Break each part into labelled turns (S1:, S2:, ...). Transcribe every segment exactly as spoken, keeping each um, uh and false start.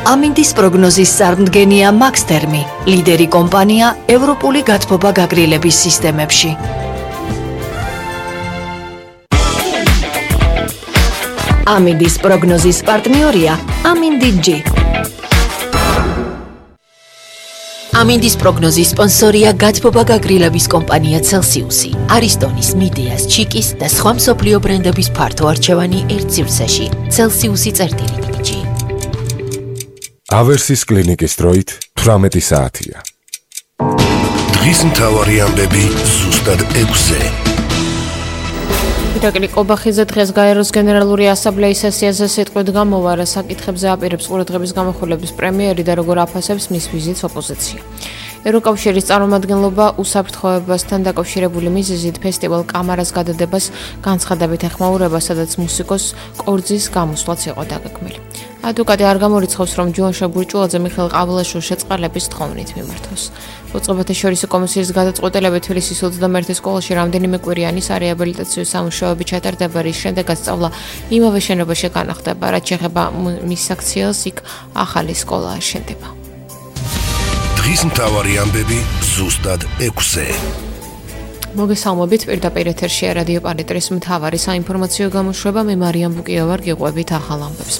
S1: ამინდის პროგნოზის წარმდგენია მაქსთერმი, ლიდერი კომპანია ევროპული გათბობა გაგრილების სისტემებში. ამინდის პროგნოზის პარტნიორია ამინდი ჯი. ამინდის პროგნოზის სპონსორია გათბობა გაგრილების კომპანია Celsius-ი, არისტონის, მიდეას, ჩიკის და სხვა მსოფლიო ბრენდების ფართო არჩევანი ერთ სივრცეში. Celsius-ი წერტილი ჯი.
S2: ავერსის კლინიკის დროით თვრამეტი საათია.
S3: დღის მთავარი ამბები ზუსტად ექვსზე.
S4: ირაკლი ყობახიძე დღეს გაეროს გენერალური ასამბლეის სესიაზე სიტყვით გამოვა, რა საკითხებზე აპირებს ყურადღების გამახვილების პრემიერი და როგორ აფასებს მის ვიზიტს ოპოზიცია. ევროკავშირის წარმომადგენლობა უსაფრთხოებასთან დაკავშირებული მიზეზით ფესტივალ კამარას გადადებას განცხადებით ეხმაურება, სადაც მუსიკოს კორძის გამოსვლაც იყო დაგეგმილი. ადვოკატი არ გამორიცხავს, რომ ჯუანშა ბურჭულაძე მიხეილ ყავილაშვილს შეწყალების თხოვნით მიმართოს. უწყებათა შორისო კომისიის გადაწყვეტილებით თბილისის ოცდამეერთე სკოლაში რამდენიმე კვირიანი სარეაბილიტაციო სამუშაოები ჩატარდება, რის შემდეგაც სწავლა იმავე შენობაში განახდება, რაც შეეხება მის აქციას, იქ ახალი სკოლა აშენდება.
S3: დღის მთავარი ამბები ზუსტად ექვსზე.
S4: მოგესალმებით, პირდაპირ ეთერშია რადიო პალიტრის მთავარი საინფორმაციო გამოშვება, მე მარიამ ბუკია ვარ, გიყვებით ახალ ამბებს.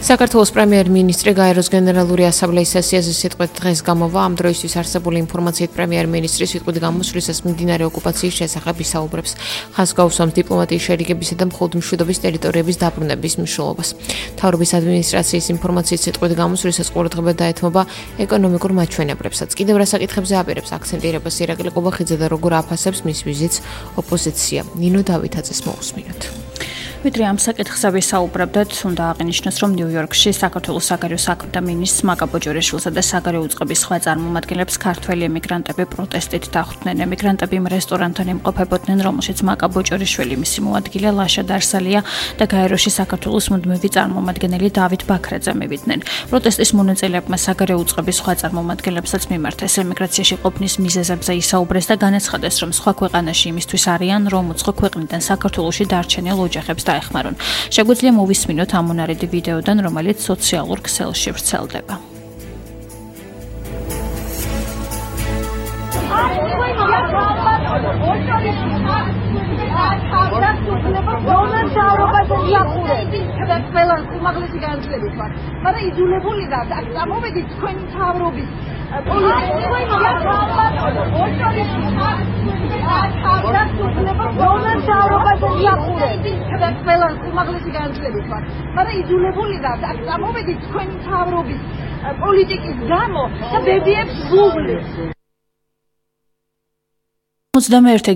S4: საქართველოს პრემიერ-მინისტრი გაეროს გენერალური ასამბლეის სესიაზე სიტყვით დღეს გამოვა, ამ დროისთვის არსებული ინფორმაციით პრემიერ-მინისტრი სიტყვით გამოსვლისას მიმდინარე ოკუპაციის შესახებ ისაუბრებს. ხაზს გაუსვამს დიპლომატიის შერიგებისა და მხოლოდმშვიდობის ტერიტორიების დაბრუნების მნიშვნელობას. მთავრობის ადმინისტრაციის ინფორმაციით სიტყვით გამოსვლისას ყურადღება დაეთმობა ეკონომიკურ მაჩვენებლებსაც. კიდევ რა საკითხებზე აპირებს აქცენტირებას ირაკლი ყობახიძე და როგორ აფასებს მის ვიზიტს ოპოზიცია. ნინო დავითაძეს მოусმინოთ.
S5: ვიდრე ამ საკითხზე ვისაუბრებდეთ, უნდა აღინიშნოს, რომ ნიუ-იორკში საქართველოს საგარეო საქმეთა მინისტრს მაკა ბოჭორიშვილსა და საგარეო უწყების სხვა წარმომადგენლებს ქართველი ემიგრანტები პროტესტით დახვდნენ. ემიგრანტები იმ რესტორანთან იმყოფებოდნენ, რომელშიც მაკა ბოჭორიშვილი, მისი მოადგილე ლაშა დარსალია და გაეროში საქართველოს მუდმივი წარმომადგენელი დავით ბაქრაძე მივიდნენ. პროტესტის მონაწილეებმა საგარეო უწყების სხვა წარმომადგენლებსაც მიმართეს ემიგრაციაში ყოფნის მიზეზებზე ისაუბრეს და განაცხადეს, რომ სხვა ქვეყანაში იმისთვის არიან, რომ უცხო ქვეყნიდან საქართველოში დარჩენილ ოჯახებს ეხმარონ. შეგვიძლია მოვისმინოთ ამონარიდი ვიდეოდან, რომელიც სოციალურ ქსელში ვრცელდება.
S6: მაგრამ იძულებული და ამოვედით თქვენი მთავრობის მაგრამ იძულებული და ამოვედით თქვენი მთავრობის პოლიტიკის გამო და ბედიებს გუგლის.
S5: ოცდამეერთე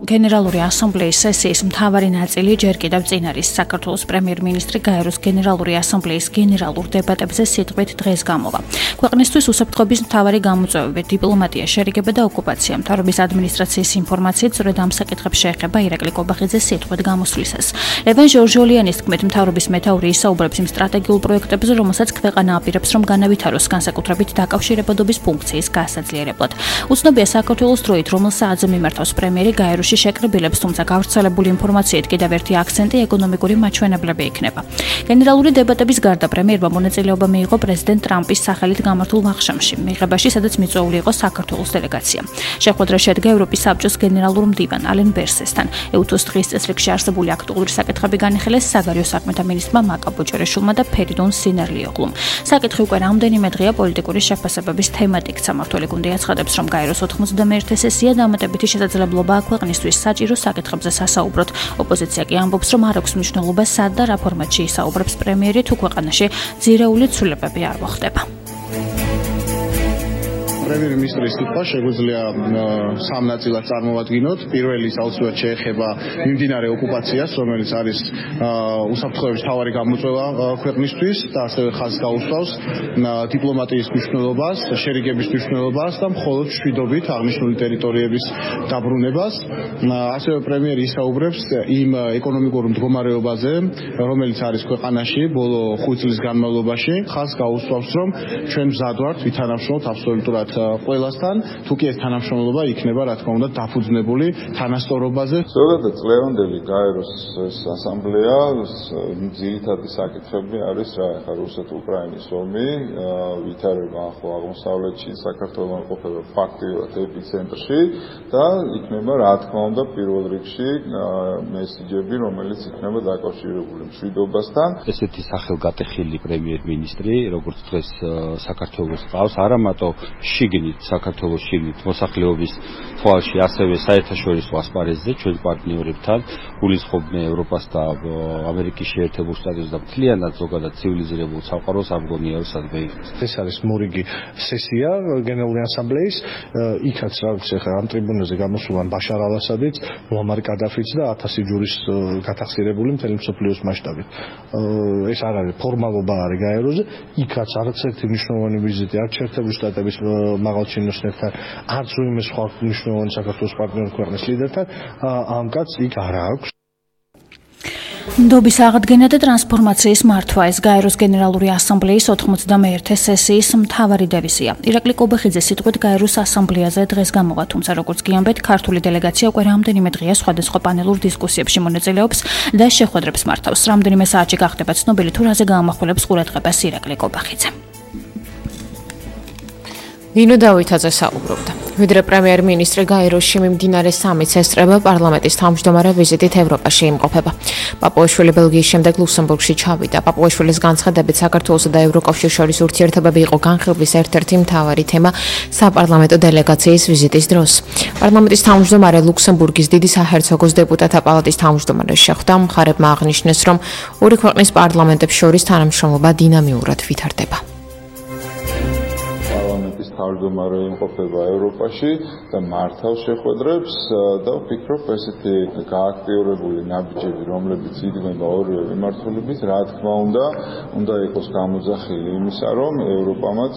S5: გენერალური ასამბლეის სესიის მთავარი ნაწილი ჯერ კიდევ წინ არის. საქართველოს პრემიერ-მინისტრი გაეროს გენერალური ასამბლეის გენერალურ დებატებზე სიტყვით დღეს გამოვა. ქვეყნისთვის უსაფრთხოების მთავარი გამოწვევები, დიპლომატია, შერიგება და ოკუპაცია. მთავრობის ადმინისტრაციის ინფორმაციით სწორედ ამ საკითხებს შეეხება ირაკლი ყობახიძე სიტყვით გამოსვლისას. ლევან ჟორჟოლიანის თქმით, მთავრობის მეთაური ისაუბრებს იმ სტრატეგიულ პროექტებზე, რომელსაც ქვეყანა აპირებს, რომ განავითაროს განსაკუთრებით დაკავშირებადობის ფუნქციის გასაძლიერებლად. უცნობია საქართველოს დროით, რომელ საათზე მართავს პრემიერი გაეროში შეკრებილებს, თუმცა გავრცელებული ინფორმაციით კიდევ ერთი აქცენტი ეკონომიკური მაჩვენებლები იქნება. გენერალური დებატების გარდა პრემიერმა მონაწილეობა მიიღო პრეზიდენტ ტრამპის სახელით გამართულ ვახშამში, მიღებაში, სადაც მიწვეული იყო საქართველოს დელეგაცია. შეხვედრა შედგა ევროპის საბჭოს გენერალურ მდივან ალენ ბერსესთან. ეუთოს დღის წესრიგში არსებული აქტუალური საკითხები განიხილეს საგარეო საქმეთა მინისტრმა მაკა ბოჭორიშვილმა და ფერიდონ სინერლიოღლუმ. საკითხი უკვე რამდენიმე დღეა პოლიტიკური შეფასებების თემად იქცა. მმართველი გუნდი აცხადებს, რომ გაეროს ოთხმოცდამეერთე სესია დამატებითი შესაძლებლობაა ქვეყნისთვის საჭირო საკითხებზე სასაუბროთ. ოპოზიცია კი ამბობს, რომ არ აქვს მნიშვნელობა სად და რა ფორმატში ისაუბრებს პრემიერი, თუ ქვეყანაში ძირეული ცვლილებები არ მოხდება.
S7: პრემიერ-მინისტრის სიტყვა შეგვიძლია სამ ნაწილად წარმოვადგინოთ. პირველი საოცრად შეეხება მიმდინარე ოკუპაციას, რომელიც არის უსაფრთხოების მთავარი გამოწვევა ქვეყნისთვის და ასევე ხაზს გაუსვავს დიპლომატიის მნიშვნელობას, შერიგების მნიშვნელობას და მხოლოდ მშვიდობით აღნიშნული ტერიტორიების დაბრუნებას. ასევე პრემიერი ისაუბრებს იმ ეკონომიკურ მდგომარეობაზე, რომელიც არის ქვეყანაში ბოლო ხუთ წლის განმავლობაში. ხაზს გაუსვავს, რომ ჩვენ მზად ვართ ვითანამშრომლოთ აბსოლუტურად ყველასთან, თუ კი ეს თანამშრომლობა იქნება, რა თქმა უნდა, დაფუძნებული თანასწორობაზე.
S8: ზოგადად წლევანდელი გაეროს ასამბლეა ძირითადი საკითხები არის რა ახლა რუსეთ-უკრაინის ომი, ვითარება ახლო აღმოსავლეთში, საქართველოს ყოფება ფაქტიურად ეპიცენტრში და იქნება რა თქმა უნდა პირველ რიგში მესიჯები, რომელიც იქნება დაკავშირებული მშვიდობასთან.
S9: ესეთი სახელგატეხილი პრემიერ-მინისტრი, როგორც დღეს საქართველოს ყავს, არა მარტო შიგნით საქართველოს შიგნით მოსახლეობის თვალში, ასევე საერთაშორისო ასპარეზზე ჩვენ პარტნიორებთან გულისხმობენ ევროპას და ამერიკის შეერთებულ შტატებს და მთლიანად ზოგადად ცივილიზირებულ სამყაროს ამგონია სადმე.
S10: ეს არის მორიგი სესია გენერალური ასამბლეის, იქაც რაც ახლა ამ ტრიბუნაზე გამოსულან ბაშარ ალ-ასადიც, მუამარ კადაფიც და ათასი ჯურის გათახსირებული მთელი მსოფლიოს მასშტაბით. ეს არ არის ფორმალობა არის გაეროზე, იქაც არც ერთი მნიშვნელოვანი ვიზიტი არც შეერთებულ შტატების მაღალ ჩინოსნებთან, არც ვინმე სხვა მნიშვნელოვანი საქართველოს პარტნიორ ქვეყნის ლიდერთან, ამ კაცს იქ არ აქვს.
S5: ნდობის აღდგენა და ტრანსფორმაციის მართვა ეს გაეროს გენერალური ასამბლეის ოთხმოცდამეერთე სესიის მთავარი დევიზია. ირაკლი კობეხიძე სიტყვით გაეროს ასამბლეაზე დღეს გამოვა, თუმცა როგორც გიამბეთ, ქართული დელეგაცია უკვე რამდენიმე დღეა სხვადასხვა პანელურ დისკუსიებში მონაწილეობს და შეხვედრებს მართავს. რამდენიმე საათში გახდება ცნობილი თუ რაზე გაამახვილებს ყურადღებას ირაკლი კობეხიძე.
S4: ნინო დავითაძე საუბრობდა. ვიდრე პრემიერ-მინისტრი გაეროში მიმდინარე სამიტს ესწრება, პარლამენტის თავმჯდომარე ვიზიტით ევროპაში იმყოფება. პაპუაშვილი ბელგიის შემდეგ ლუქსემბურგში ჩავიდა. პაპუაშვილის განცხადებით, საქართველოსა და ევროკავშირის შორის ურთიერთობები იყო განხილვის ერთ-ერთი მთავარი თემა საპარლამენტო დელეგაციის ვიზიტის დროს. პარლამენტის თავმჯდომარე ლუქსემბურგის დიდი საჰერცოგოს დეპუტატთა პალატის თავმჯდომარეს შეხვდა, მხარებმა აღნიშნეს, რომ ორი ქვეყნის პარლამენტებს შორის თანამშრომლობა დინამიურად ვითარდება.
S8: თავმჯდომარე იმყოფება ევროპაში და მართავს შეხვედრებს და ვფიქრობ ესეთი გააქტიურებული ნაბიჯები, რომლებიც იდგმება ორივე მიმართულებით, რა თქმა უნდა, უნდა იყოს გამოძახილი იმისა, რომ ევროპამაც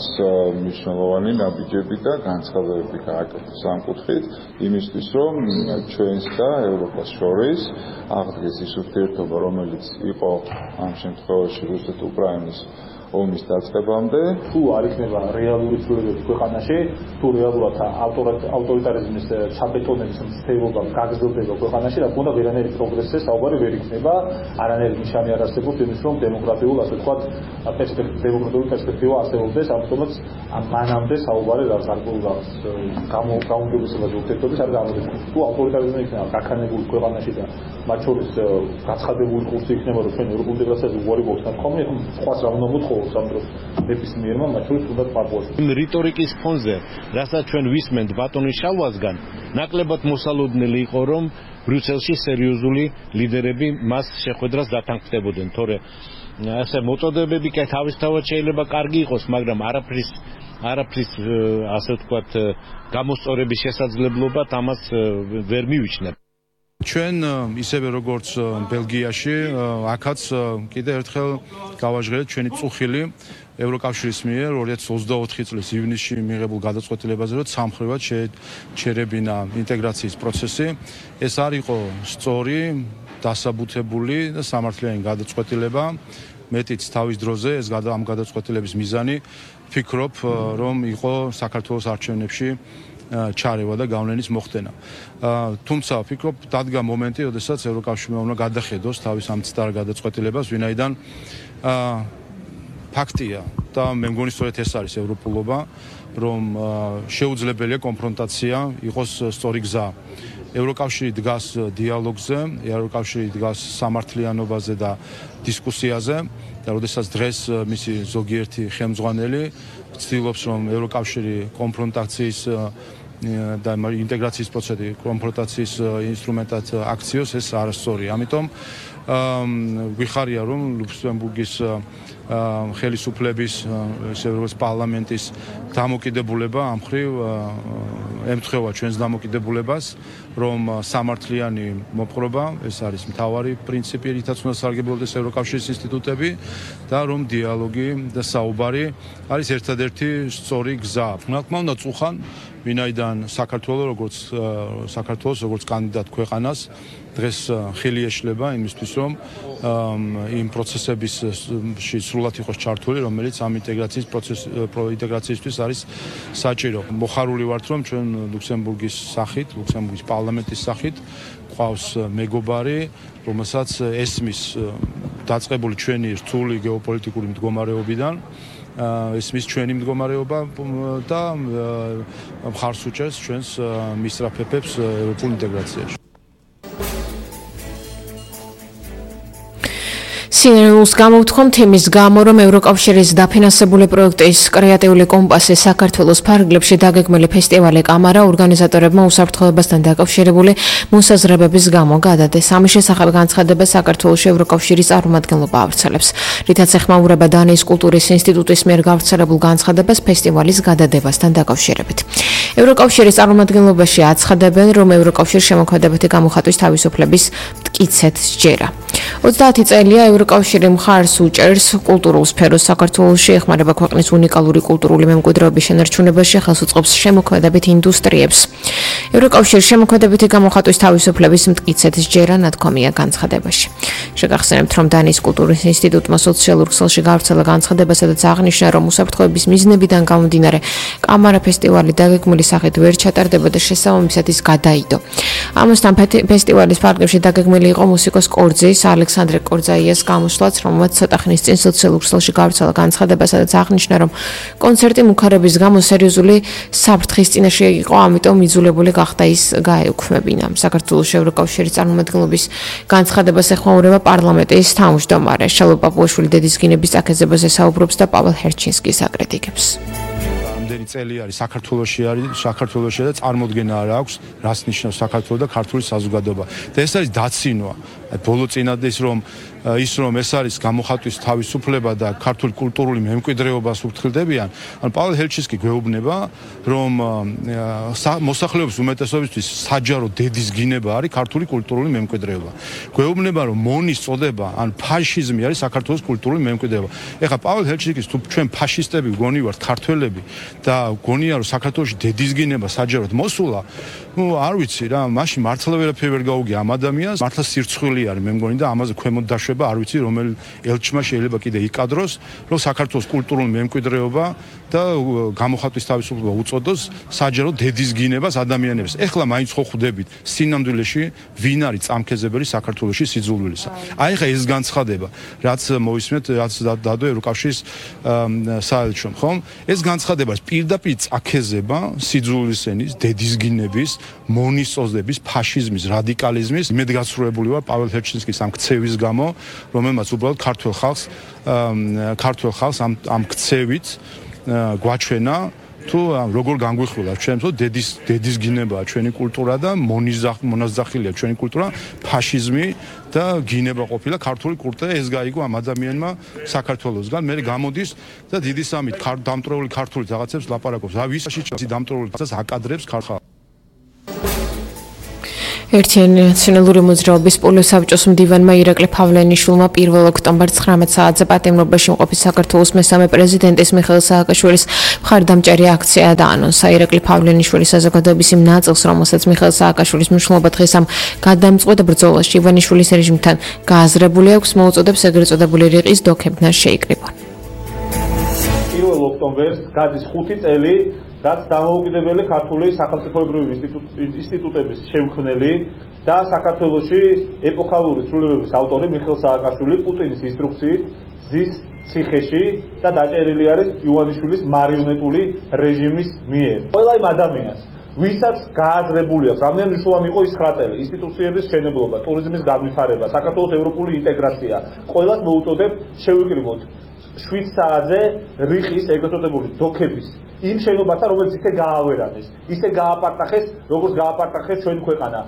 S8: მნიშვნელოვანი ნაბიჯები და განცხადებები გააკეთოს ამ კუთხით, იმისთვის, რომ ჩვენს და ევროპას შორის აღდგეს ის ურთიერთობა, რომელიც იყო ამ შემთხვევაში რუსეთ-უკრაინის ომის დაწყებამდე.
S11: თუ არ იქნება რეალური ცვლილებები ქვეყანაში, თუ რეალურად ავტორიტარიზმის ჩაბეტონების მცდელობა გაგრძელდება ქვეყანაში, რა თქმა უნდა ვერანაირი პროგრესზე საუბარი ვერ იქნება, არანაირი ნიშანი არ არსებობს იმის, რომ დემოკრატიულ, ასე ვთქვათ, დემოკრატიული პერსპექტივა არსებობდეს, ამიტომაც მანამდე საუბარი რაც გარკვეულს გაუმჯობესებაზე ურთიერთობის არ გამოდის. თუ ავტორიტარიზმი იქნება გაქანებული ქვეყანაში და მათ შორის გაცხადებული კურსი იქნება, რომ ჩვენ ევროპულ ინტეგრაციაზე უარი გვაქვს ნათქვამი, ეხლა სხვას რა უნდა მოთხოვო სამდრო ნებისმიერმა მათ შორის უნდა პარპუაში.
S12: იმ რიტორიკის ფონზე, რასაც ჩვენ ვისმენთ ბატონის შალვასგან, ნაკლებად მოსალოდნელი იყო, რომ ბრიუსელში სერიოზული ლიდერები მას შეხვედრას დათანხმდებოდნენ, თორე ასე მოწოდებები კი თავისთავად შეიძლება კარგი იყოს, მაგრამ არაფრის არაფრის ასე ვთქვათ გამოსწორების შესაძლებლობად ამას ვერ მივიჩნევ.
S13: ჩვენ ისევე როგორც ბელგიაში, აქაც კიდევ ერთხელ გავაჟღერეთ ჩვენი წუხილი ევროკავშირის მიერ ორი ათი ოცდაოთხი წლის ივნისში მიღებულ გადაწყვეტილებაზე, რომ სამხრივად შეჩერებინა ინტეგრაციის პროცესი. ეს არ იყო სწორი, დასაბუთებული და სამართლიანი გადაწყვეტილება. მეტიც თავის დროზე ეს ამ გადაწყვეტილების მიზანი ვფიქრობ, რომ იყო საქართველოს არჩევნებში ჩარევა და გავლენის მოხდენა. თუმცა ვფიქრობ, დადგა მომენტი, როდესაც ევროკავშირმა უნდა გადახედოს თავის ამ ცდარ გადაწყვეტილებას, ვინაიდან ფაქტია და მე მგონი სწორედ ეს არის ევროპულობა, რომ შეუძლებელია კონფრონტაცია იყოს სწორი გზა. ევროკავშირი დგას დიალოგზე, ევროკავშირი დგას სამართლიანობაზე და დისკუსიაზე და როდესაც დღეს მისი ზოგიერთი ხელმძღვანელი ცდილობს, რომ ევროკავშირი კონფრონტაციის და ინტეგრაციის პროცესი კონფრონტაციის ინსტრუმენტად აქციოს, ეს არასწორია. ამიტომ ვიხარია, რომ ლუქსემბურგის ხელისუფლების ევროპის პარლამენტის დამოკიდებულება ამ მხრივ ემთხვევა ჩვენს დამოკიდებულებას, რომ სამართლიანი მოპყრობა, ეს არის მთავარი პრინციპი, რითაც უნდა სარგებლობდეს ევროკავშირის ინსტიტუტები და რომ დიალოგი და საუბარი არის ერთადერთი სწორი გზა. რა თქმა უნდა, წუხან, ვინაიდან საქართველოს როგორც საქართველოს როგორც კანდიდატ ქვეყანას დღეს ხელი ეშლება იმისთვის, რომ იმ პროცესებისში სრულად იყოს ჩართული, რომელიც ამ ინტეგრაციის პროცეს პროინტეგრაციისთვის არის საჭირო. მოხარული ვართ, რომ ჩვენ ლუქსემბურგის სახით, ლუქსემბურგის პარლამენტის სახით ყავს მეგობარი, რომელსაც ესმის დაწყებული ჩვენი რთული გეოპოლიტიკური მდგომარეობიდან ესმის ჩვენი მდგომარეობა და მხარს უჭერს ჩვენს მისწრაფებებს ევროპულ ინტეგრაციაში.
S4: სინერგიულს გამოვთქვამთ იმის გამო, რომ ევროკავშირის დაფინანსებული პროექტის კრეატიული კომპასი საქართველოს ფარგლებში დაგეგმილი ფესტივალი კამარა ორგანიზატორებმა უსაფრთხოებასთან დაკავშირებული მოსაზრებების გამო გადადეს. ამის შესახებ განცხადება საქართველოს ევროკავშირის წარმომადგენლობა ავრცელებს, რითაც ეხმაურება დანიის კულტურის ინსტიტუტის მიერ გავრცელებულ განცხადებას ფესტივალის გადადებასთან დაკავშირებით. ევროკავშირის წარმომადგენლობაში აცხადებენ, რომ ევროკავშირს შემოქმედებითი გამოხატვის თავისუფლების მტკიცედ სჯერა. ოცდაათი წელია ევროკავშირი მხარს უჭერს კულტურულ სფეროს საქართველოში, ეხმარება ქვეყნის უნიკალური კულტურული მემკვიდრეობის შენარჩუნებაში, ხელს უწყობს შემოქმედებით ინდუსტრიებს. ევროკავშირის შემოქმედებითი გამოხატვის თავისუფლების მტკიცედ სჯერა ნათქვამია განცხადებაში. შეგახსენებთ, რომ დანიის კულტურის ინსტიტუტმა სოციალურ ქსელში გავრცელა განცხადება, სადაც აღნიშნა, რომ უსაფრთხოების მიზნებიდან გამომდინარე კამარა ფესტივალი დაგეგმილი სახით ვერ ჩატარდება და შესაბამისად ის გადაიდო. ამასთან ფესტივალის ფარგლებში დაგეგმილი იყო მუსიკოს კორძის ალექსანდრე კორძაიას გამოსვლაც, რომელმაც ცოტა ხნის წინ სოციალურ ქსელში გავრცელა განცხადება, სადაც აღნიშნა, რომ კონცერტი მუქარების გამო სერიოზული საფრთხის წინაშე იყო, ამიტომ იძულებული გახდა ის გაეუქმებინა. საქართველოს ევროკავშირის წარმომადგენლობის განცხადებას ეხმაურება პარლამენტის თავმჯდომარე შალო პაპუაშვილი დედის გინების წაქეზებაზე საუბრობს და პაվել ჰერჩინსკის აკრიტიკებს.
S13: რამდენი წელი არის საქართველოში არის საქართველოში და წარმოდგენა არ აქვს, რას ნიშნავს საქართველოს და ქართული საზოგადოება. და ეს არის დაცინვა. ბოლო წინათ ის რომ ის რომ ეს არის გამოხატვის თავისუფლება და ქართული კულტურული მემკვიდრეობას უფრთხილდებიან, ან პაվել ჰერჩინსკი გვეუბნება, რომ მოსახლეობის უმეტესობისთვის საჯარო დედის გინება არის ქართული კულტურული მემკვიდრეობა. გვეუბნება, რომ მონის წოდება ან ფაშიზმი არის საქართველოს კულტურული მემკვიდრეობა. ეხლა პაվել ჰერჩინსკის თუ ჩვენ ფაშისტები გონი ვართ ქართველები და გონია რომ საქართველოში დედის გინება საჯაროდ მოსულა, ნუ არ ვიცი რა, მაშინ მართლა ვერაფერი ვერ გაუგია ამ ადამიანს, მართლა სირცხვილი არის მე მგონი და ამაზე ქვემოთ დაშვება არ ვიცი რომელ ელჩმა შეიძლება კიდე იკადროს, რომ საქართველოს კულტურული მემკვიდრეობა და გამოხატვის თავისუფლება უწოდოს საჯარო დედის გინებას ადამიანებს. ეხლა მაინც ხო ხვდებით სინამდვილეში ვინ არის წამქეზებელი საქართველოში სიძულვილისა. აი ხა ეს განცხადება, რაც მოვისმენთ, რაც დადო ევროკავშირის საელჩომ, ხომ? ეს განცხადება პირდაპირ წაქეზება სიძულვილისენის, დედის გინების, მონის წოდების, ფაშიზმის, რადიკალიზმის იმედგაცრუებული ვარ პაվել ჰერჩინსკის ამ ქცევის გამო, რომელმაც უბრალოდ ქართულ ხალხს ქართულ ხალხს ამ ამ ქცევით გვაჩვენა თუ როგორ განგვიხვილა ჩვენ თო დედის დედის გინებაა ჩვენი კულტურა და მონაზახილია ჩვენი კულტურა, ფაშიზმი და გინება ყოფილა ქართული კულტურა, ეს გაიგო ამ ადამიანმა საქართველოსგან. მე გამოდის და დიდი სამით დამტრეული ქართული რაღაცებს ლაპარაკობს. რა ვისში დამტრეული რაღაცას აკადრებს ქართულ
S4: ერთიანი ნაციონალური მოძრაობის პოლოს საბჭოს მდივანმა ირაკლი ფავლენიშვილმა პირველ ოქტომბერს ცხრამეტ საათზე პატიმრობაში მყოფი საქართველოს მესამე პრეზიდენტის მიხეილ სააკაშვილის მხარდამჭერი აქცია დაანონსა. ირაკლი ფავლენიშვილის საზოგადოების იმ ნაწილს, რომელსაც მიხეილ სააკაშვილის მნიშვნელობა დღეს ამ გადამწყვეტ ბრძოლაში ივანიშვილის რეჟიმთან გააზრებული აქვს, მოუწოდებს ეგრეთ წოდებული რიყის დოქებთან შეიკრიბონ.
S11: პირველ ოქტომბერს გადის ხუთი წელი რაც დამოუკიდებელი ქართული სახელმწიფოებრივი ინსტიტუტების შემქმნელი და საქართველოში ეპოქალური ცვლილებების ავტორი მიხეილ სააკაშვილი პუტინის ინსტრუქციით ზის ციხეში და დაჭერილი არის ივანიშვილის მარიონეტული რეჟიმის მიერ. ყველა იმ ადამიანს, ვისაც გააზრებული აქვს, რამდენი მნიშვნელოვანი იყო ის ცხრა წელი, ინსტიტუციების შენებლობა, ტურიზმის განვითარება, საქართველოს ევროპული ინტეგრაცია, ყველას მოუწოდებ შევიკრიბოთ შვიდ საათზე რიყის ეგრეთ წოდებული დოქების იმ შენობათა, რომელიც ისე გაავერანეს, ისე გააპარტახეს, როგორც გააპარტახეს ჩვენი ქვეყანა.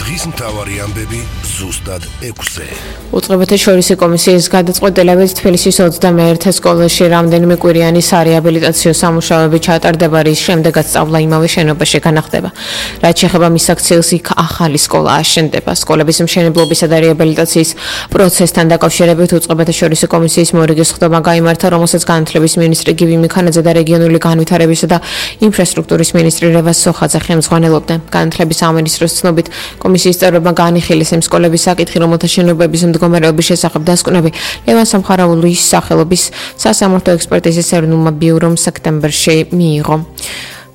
S3: დღის მთავარი ამბები ზუსტად ექვსზე.
S4: უწყებათა შორისი კომისიის გადაწყვეტილებით თბილისის ოცდამეერთე სკოლაში რამდენიმე კვირიანი სარეაბილიტაციო სამუშაოები ჩატარდება, რის შემდეგაც სწავლა იმავე შენობაში განახდება. რაც შეეხება მის აქციელს, იქ ახალი სკოლა აშენდება. სკოლების მშენებლობისა და რეაბილიტაციის პროცესთან დაკავშირებით უწყებათა შორისი კომისიის მორიგის ხდომა გაიმართა, რომელსაც განათლების მინისტრი გივი მიქანაძე და რეგიონული განვითარებისა და ინფრასტრუქტურის მინისტრი რევაზ სოხაძე ხელმძღვანელობდნენ. განათლების სამინისტროს ცნობით, კომისიის წევრებმა განიხილეს იმ სკოლების სკოლების საკითხი, რომელთა შენობების მდგომარეობის შესახებ დასკვნები ლევან სამხარაულის სახელობის სასამართლო ექსპერტიზის ეროვნულმა ბიურომ სექტემბერში მიიღო.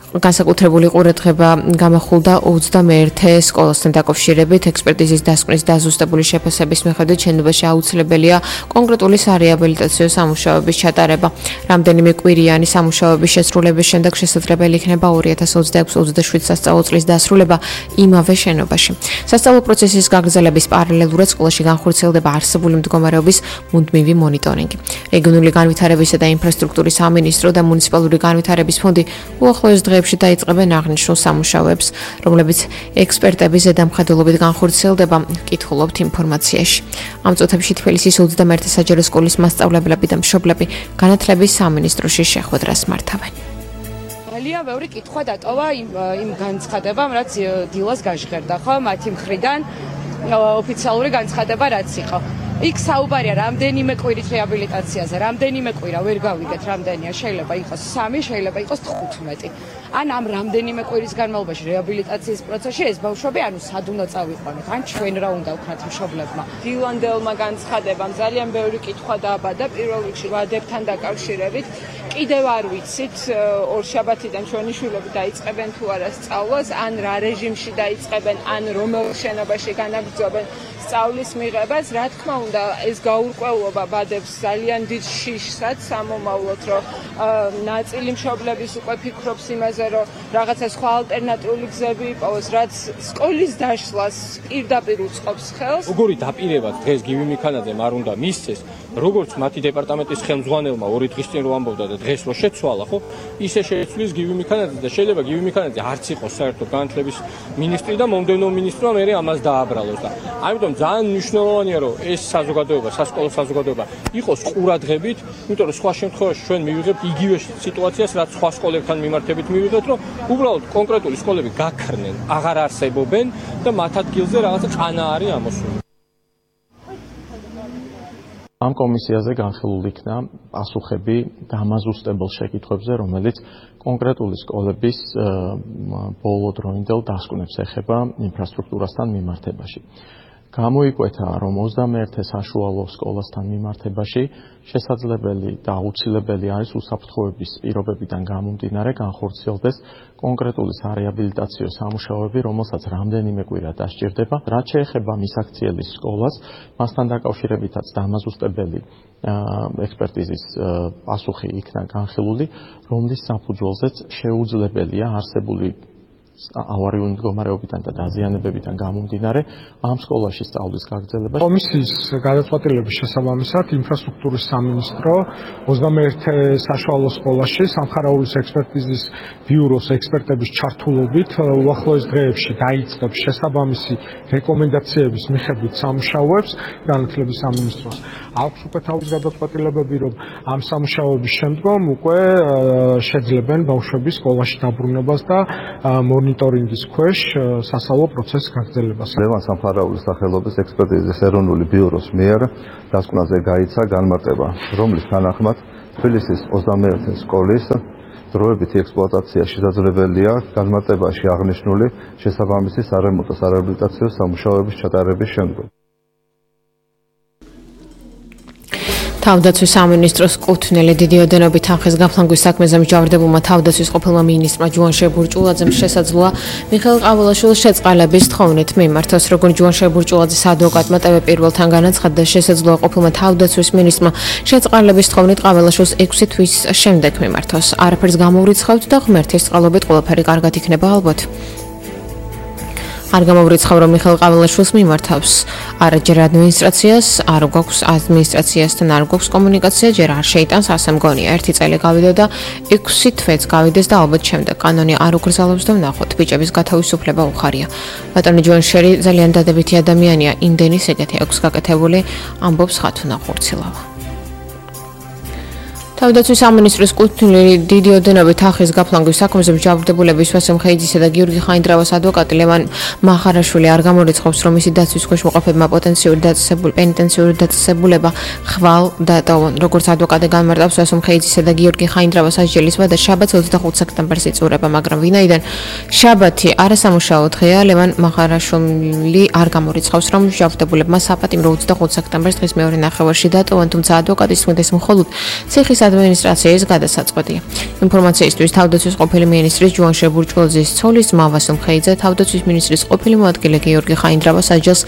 S4: განსაკუთრებული ყურადღება გამახვილდა ოცდამეერთე სკოლასთან დაკავშირებით ექსპერტიზის დასკვნის დაზუსტებული შეფასების მიხედვით შენობაში აუცილებელია კონკრეტული სარეაბილიტაციო სამუშაოების ჩატარება. რამდენიმე კვირიანი სამუშაოების შესრულების შემდეგ შესაძლებელი იქნება ორი ათას ოცდაექვსი ოცდაშვიდ სასწავლო წლის დასრულება იმავე შენობაში. სასწავლო პროცესის გაგრძელების პარალელურად სკოლაში განხორციელდება არსებული მდგომარეობის მუდმივი მონიტორინგი. რეგიონული განვითარებისა და ინფრასტრუქტურის სამინისტრო და მუნიციპალური განვითარების ფონდი უახლოეს დღეებში დაიწყებენ აღნიშნულ სამუშაოებს, რომლებიც ექსპერტების ზედამხედველობით განხორციელდება, ვკითხულობთ ინფორმაციაში. ამ წუთებში თბილისის ოცდამეერთე საჯარო სკოლის მასწავლებლები და მშობლები განათლების სამინისტროში შეხვედრას მართავენ.
S14: ძალიან ბევრი კითხვა დატოვა იმ იმ განცხადებამ, რაც დილას გაჟღერდა, ხო, მათი მხრიდან ოფიციალური განცხადება რაც იყო. იქ საუბარია რამდენიმე კვირის რეაბილიტაციაზე, რამდენიმე კვირა ვერ გავიგეთ რამდენია, შეიძლება იყოს სამი, შეიძლება იყოს თხუთმეტი. ან ამ რამდენიმე კვირის განმავლობაში რეაბილიტაციის პროცესში ეს ბავშვები ანუ სად უნდა წავიყვანოთ, ან ჩვენ რა უნდა ვქნათ მშობლებმა. დილანდელმა განცხადებამ ძალიან ბევრი კითხვა დააბადა პირველ რიგში ვადებთან დაკავშირებით. კიდევ არ ვიცით ორშაბათიდან ჩვენი შვილები დაიწყებენ თუ არა სწავლას, ან რა რეჟიმში დაიწყებენ, ან რომელ შენობაში განაგრძობენ სწავლის მიღებას. რა თქმა უნდა, ეს გაურკვევლობა ბადებს ძალიან დიდ შიშსაც ამომავლოთ, რომ ნაწილი მშობლების უკვე ფიქრობს იმაზე, რომ რაღაცა სხვა ალტერნატიული გზები იპოვოს, რაც სკოლის დაშლას პირდაპირ უწყობს ხელს.
S15: როგორი დაპირება დღეს გივი მიქანაძემ არ უნდა მისცეს, როგორც მათი დეპარტამენტის ხელმძღვანელმა ორი დღის წინ რო ამბობდა და დღეს რო შეცვალა, ხო? ისე შეცვლის გივი მიქანაძე და შეიძლება გივი მიქანაძე არც იყოს საერთოდ განათლების მინისტრი და მომდევნო მინისტრმა მერე ამას დააბრალოს და ამიტომ ძალიან მნიშვნელოვანია რომ ეს საზოგადოება, სასკოლო საზოგადოება იყოს ყურადღებით, იმიტომ რომ სხვა შემთხვევაში ჩვენ მივიღებთ იგივე სიტუაციას, რაც სხვა სკოლებთან მიმართებით მივიღებთ, რომ უბრალოდ კონკრეტული სკოლები გაქრნენ, აღარ არსებობენ და მათ ადგილზე რაღაცა ყანა არის ამოსული.
S16: ამ კომისიაზე განხილული იქნა პასუხები დამაზუსტებელ შეკითხვებზე, რომელიც კონკრეტული სკოლების ბოლო დროინდელ დასკვნებს ეხება ინფრასტრუქტურასთან მიმართებაში. გამოიკვეთა, რომ ოცდამეერთე საშუალო სკოლასთან მიმართებაში შესაძლებელი და აუცილებელი არის უსაფრთხოების პირობებიდან გამომდინარე განხორციელდეს კონკრეტული სარეაბილიტაციო სამუშაოები, რომელსაც რამდენიმე კვირა დასჭირდება. რაც შეეხება მისაქციელის სკოლას, მასთან დაკავშირებითაც დამაზუსტებელი ექსპერტიზის პასუხი იქნა განხილული, რომლის საფუძველზეც შეუძლებელია არსებული ავარიული მდგომარეობიდან და დაზიანებებიდან გამომდინარე ამ სკოლაში სწავლის გაგრძელება.
S10: კომისიის გადაწყვეტილების შესაბამისად ინფრასტრუქტურის სამინისტრო ოცდამეერთე საშუალო სკოლაში სამხარაულის ექსპერტიზის ბიუროს ექსპერტების ჩართულობით უახლოეს დღეებში დაიწყებს შესაბამისი რეკომენდაციების მიხედვით სამუშაოებს განათლების სამინისტროს. აქვს უკვე თავის გადაწყვეტილებები, რომ ამ სამუშაოების შემდგომ უკვე შეძლებენ ბავშვების სკოლაში დაბრუნებას და მონიტორინგის ქვეშ სასწავლო პროცესის გაგრძელებას.
S17: ლევან სამხარაულის სახელობის ექსპერტიზის ეროვნული ბიუროს მიერ დასკვნაზე გაიცა განმარტება, რომლის თანახმად თბილისის ოცდამეერთე სკოლის დროებითი ექსპლუატაცია შესაძლებელია განმარტებაში აღნიშნული შესაბამისი სარემონტო სარეაბილიტაციო სამუშაოების ჩატარების შემდგომ.
S4: თავდაცვის სამინისტროს კუთვნილი დიდი ოდენობით თანხის გაფლანგვის საქმეზე მსჯავრდებულმა თავდაცვის ყოფილმა მინისტრმა ჯუანშერ ბურჭულაძემ შესაძლოა მიხეილ ყაველაშვილის შეწყალების თხოვნით მიმართოს. როგორც ჯუანშერ ბურჭულაძის ადვოკატმა ტევ პირველთან განაცხადა, შესაძლოა ყოფილმა თავდაცვის მინისტრმა შეწყალების თხოვნით ყაველაშვილს ექვსი თვის შემდეგ მიმართოს. არაფერს გამოვრიცხავთ და ღმერთის წყალობით ყველაფერი კარგად იქნება ალბათ. არ გამოვრიცხავ, რომ მიხეილ ყაველაშვილს მიმართავს. არაჯერ ადმინისტრაციას, არ გვაქვს ადმინისტრაციასთან არ გვაქვს კომუნიკაცია, ჯერ არ შეიტანს, ასე მგონია. ერთი წელი გავიდა და ექვსი თვეც გავიდეს და ალბათ შემდეგ კანონი არ უგრძელობს და ვნახოთ. ბიჭების გათავისუფლება უხარია. ბატონი ჯუანშერი ძალიან დადებითი ადამიანია, იმდენი სიკეთე აქვს გაკეთებული, ამბობს ხათუნა ხურცილავა. თავდაცვის სამინისტროს კუთვნილი დიდი ოდენობით ახის გაფლანგვის საქმეზე მსჯავრდებულების ვასილ ხეიძისა და გიორგი ხაინდრავას ადვოკატი ლევან მახარაშვილი არ გამორიცხავს, რომ მისი დაცვის ქვეშ მოყოფებმა პოტენციური დაწესებული პენიტენციური დაწესებულება ხვალ დატოვონ. როგორც ადვოკატი განმარტავს, ვასილ ხეიძისა და გიორგი ხაინდრავას ასჯელის ვადა შაბათს ოცდახუთი სექტემბერს იწურება, მაგრამ ვინაიდან შაბათი არასამუშაო დღეა, ლევან მახარაშვილი არ გამორიცხავს, რომ მსჯავრდებულებმა საპატიმრო ოცდახუთი სექტემბერს დღის მეორე ნახევარში დატოვონ, თუმცა ადვოკატის თქმით ეს მხოლოდ ციხის ადმინისტრაციის გადასაწყვეტია. ინფორმაციისთვის თავდაცვის ყოფილი მინისტრის ჯუანშერ ბურჭულაძის ცოლის ძმა ვასილ ხეიძე თავდაცვის მინისტრის ყოფილი მოადგილე გიორგი ხაინდრავას ასჯელს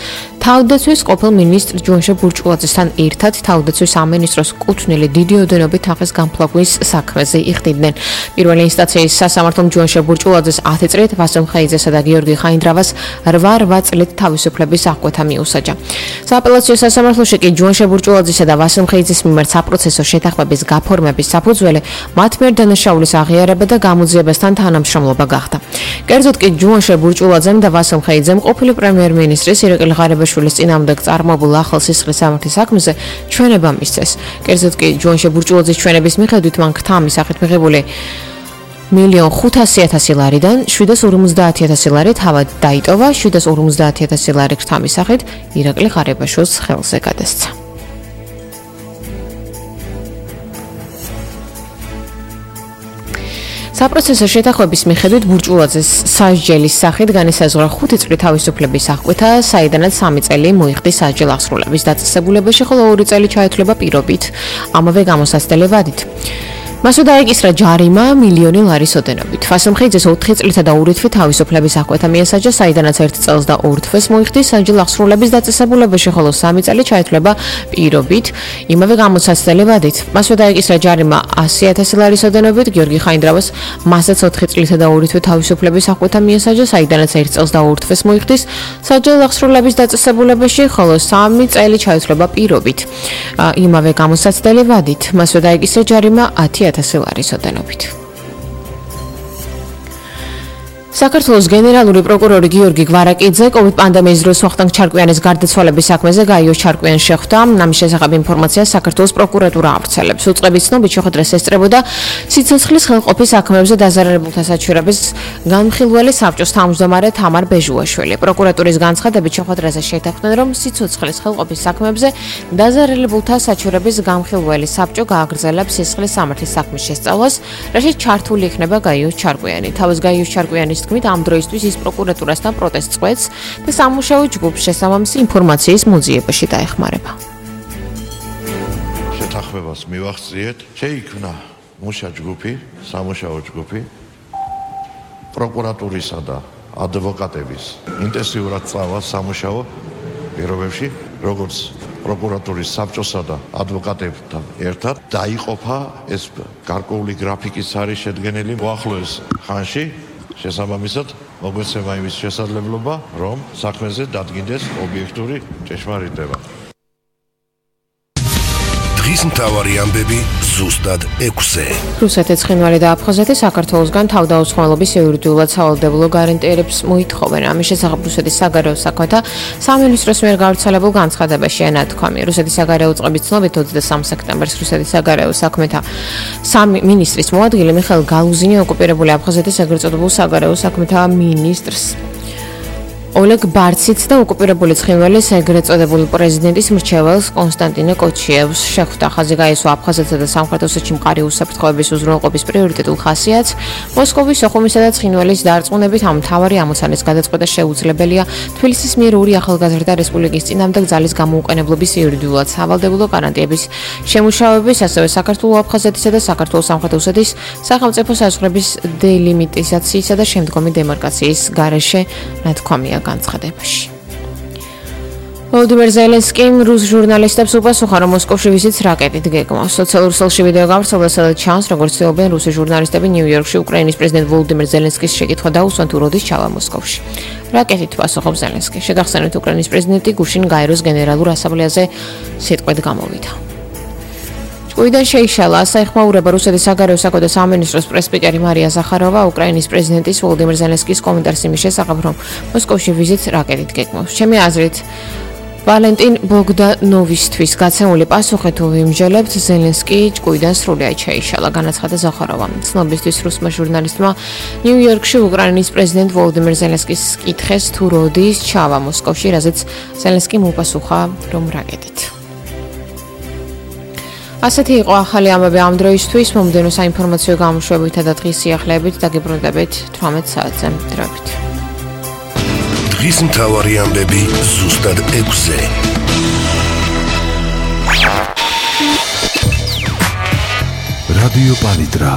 S4: თავდაცვის ყოფილ მინისტრ ჯუანშერ ბურჭულაძესთან ერთად თავდაცვის სამინისტროს კუთვნილი დიდი ოდენობით ახის განფლაგვის საქმეზე იხდიდნენ. პირველი ინსტანციის სასამართლომ ჯუანშერ ბურჭულაძეს ათი წლით, ვასილ ხეიძესა და გიორგი ხაინდრავას რვა რვა წლით თავისუფლების აღკვეთა მიუსაჯა. სააპელაციო სასამართლოში კი ჯუანშერ ბურჭულაძესა და ვასილ ხეიძეს მიმართ საპროცესო შეთანხმების გაფორმების საფუძველი მათ მიერ დანაშაულის აღიარება და გამოძიებასთან თანამშრომლობა გახდა. კერძოდ კი ჯუანშერ ბურჭულაძემ და ვასილ ხეიძემ ყოფილი პრემიერ-მინისტრის ირაკლი ღარიბაშვილის წინააღმდეგ წარმოებულ ახალ სისხლის სამართლის საქმეზე ჩვენება მისცეს. კერძოდ კი ჯუანშერ ბურჭულაძის ჩვენების მიხედვით მან ქთა მისახით მიღებული მილიონ ხუთასი ათასი ლარიდან შვიდას ორმოცდაათი ათასი ლარი თავად დაიტოვა, შვიდას ორმოცდაათი ათასი ლარი ქთა მისახით ირაკლი ღარიბაშვილს ხელზე გადასცა. საპროცესო შეთანხმების მიხედვით ბურჭულაძეს სასჯელის სახით განისაზღვრა ხუთი წლის თავისუფლების აღკვეთა, საიდანაც სამი წელი მოიხდის სასჯელ აღსრულების დაწესებულებაში, ხოლო ორი წელი ჩაითვლება პირობით, ამავე გამოსაცდელი ვადით. მასვე დაეკისრა ჯარიმა მილიონი ლარის ოდენობით. ვასილ ხეიძეს ოთხი წლითა და ორი თვე თავისუფლების აღკვეთა მიესაჯა, საიდანაც ერთი წელს და ორ თვეს მოიხდის სასჯელ აღსრულების დაწესებულებაში, ხოლო სამი წელი ჩაითვლება პირობით, იმავე გამოსაცდელი ვადით. მასვე დაეკისრა ჯარიმა ასი ათასი ლარის ოდენობით. გიორგი ხაინდრავას მასაც ოთხი წლითა და ორი თვე თავისუფლების აღკვეთა მიესაჯა, საიდანაც ერთი წელს და ორ თვეს მოიხდის სასჯელ აღსრულების დაწესებულებაში, ხოლო სამი წელი ჩაითვლება პირობით, იმავე გამოსაცდელი ვადით. მასვე დაეკისრა ჯარიმა ათი ათასი ლარის ოდენობით. საქართველოს გენერალური პროკურორი გიორგი გვარაკიძე კოვიდ პანდემიის დროს ვახტანგ ჩარკვიანის გარდაცვალების საქმეზე გაიოს ჩარკვიანს შეხვდა. ამის შესახებ ინფორმაციას საქართველოს პროკურატურა ავრცელებს. უწყების ცნობით შეხვედრას ესწრებოდა სიცოცხლის ხელყოფის საქმეებზე დაზარალებულთა საჩუქრების განხილველი საბჭოს თავმჯდომარე თამარ ბეჟუაშვილი. პროკურატურის განცხადებით შეხვედრაზე შეთანხმდნენ, რომ სიცოცხლის ხელყოფის საქმეებზე დაზარალებულთა საჩუქრების განხილველი საბჭო გააგრძელებს სისხლის სამართლის საქმის შესწავლას, რაშიც ჩართული იქნება გაიოს ჩარკვიანი. თავის გაიოს ჩარკვიანის თქმით, ამ დროისთვის ის პროკურატურასთან პროტესტს წყვეტს და სამუშაო ჯგუფს შესაბამისი ინფორმაციის მოძიებაში დაეხმარება.
S18: შეთანხმებას მივახციეთ, შეიქმნა მუშა ჯგუფი, სამუშაო ჯგუფი პროკურატურისა და ადვოკატების ინტენსიურად სწავლა სამუშაო პირობებში, როგორც პროკურატურის საბჭოსა და ადვოკატებთან ერთად დაიყოფა ეს გარკვეული გრაფიკის არის შედგენილი უახლოეს ხანში. შესაბამისად მოგვეცემა იმის შესაძლებლობა, რომ საქმეზე დადგინდეს ობიექტური ჭეშმარიტება.
S3: დღის მთავარი ამბები ზუსტად ექვსზე.
S4: რუსეთი, ცხინვალი და აფხაზეთი საქართველოსგან თავდაუცხოველობის იურიდიულად სავალდებულო გარანტიებს მოითხოვენ. ამის შესახებ რუსეთის საგარეო საქმეთა სამინისტროს მიერ გავრცელებულ განცხადებაში ენათქვამი. რუსეთის საგარეო წყობის ცნობით ოცდასამი სექტემბერს რუსეთის საგარეო საქმეთა სამინისტრის მოადგილე მიხაილ გალუზინი ოკუპირებული აფხაზეთის ეგრეთ წოდებულ საგარეო საქმეთა მინისტრს ოლეგ ბარციც და ოკუპირებული ცხინვალის ეგრეთ წოდებული პრეზიდენტის მრჩეველს კონსტანტინე კოჩიევს შეხვდა. ხაზი გაესვა აფხაზეთსა და სამხრეთ ოსეთში მყარი უსაფრთხოების უზრუნველყოფის პრიორიტეტულ ხასიათს. მოსკოვის, სოხუმისა და ცხინვალის დარწმუნებით ამ მთავარი ამოცანის გადაწყვეტა შეუძლებელია თბილისის მიერ ორი ახალგაზრდა რესპუბლიკის წინააღმდეგ ძალის გამოუყენებლობის იურიდიულად სავალდებულო გარანტიების შემუშავების, ასევე საქართველოს, აფხაზეთისა და საქართველოს სამხრეთ ოსეთის სახელმწიფო საზღვრების დელიმიტიზაციისა და შემდგომი დემარკაციის გარეშე ნათქვამია განცხადებაში. ვოლოდიმირ ზელენსკიმ რუს ჟურნალისტებს უპასუხა, რომ მოსკოვში ვიზიტს რაკეტით გეგმავს. სოციალურ ქსელში ვიდეო გავრცელდა, სადაც ჩანს, როგორც ცდილობენ რუსი ჟურნალისტები ნიუ-იორკში უკრაინის პრეზიდენტ ვოლოდიმირ ზელენსკის შეკითხვა დაუსვან, თუ როდის ჩავა მოსკოვში. რაკეტით პასუხობს ზელენსკი. შეგახსენებთ, უკრაინის პრეზიდენტი გუშინ გაეროს გენერალურ ასამბლეაზე სიტყვით გამოვიდა. ჭკუიდან შეიშალა საიხმაურება რუსეთის საგარეო საქმეთა სამინისტროს პრესპიკერი მარია ზახაროვა უკრაინის პრეზიდენტის ვოლოდიმირ ზელენსკის კომენტარს იმის შესახებ, რომ მოსკოვში ვიზიტს რაკეტით გეგმავს. ჩემი აზრით, ვალენტინ ბოგდანოვისთვის გაცემული პასუხი თუ ვიმსჯელებთ, ზელენსკი ჭკუიდან სრულიად შეიშალა, განაცხადა ზახაროვა. ცნობისთვის რუსმა ჟურნალისტმა ნიუ-იორკში უკრაინის პრეზიდენტ ვოლოდიმირ ზელენსკის კითხეს თუ როდის ჩავა მოსკოვში, რაზეც ზელენსკიმ უპასუხა, რომ რაკეტით. ასეთი იყო ახალი ამბები ამ დროისთვის, მომდევნო საინფორმაციო გამოშვებითა და დღის სიახლეებით დაგიბრუნდებით თვრამეტ საათზე. დროებით.
S3: დღის მთავარი ამბები ზუსტად ექვსზე.
S19: რადიო პალიტრა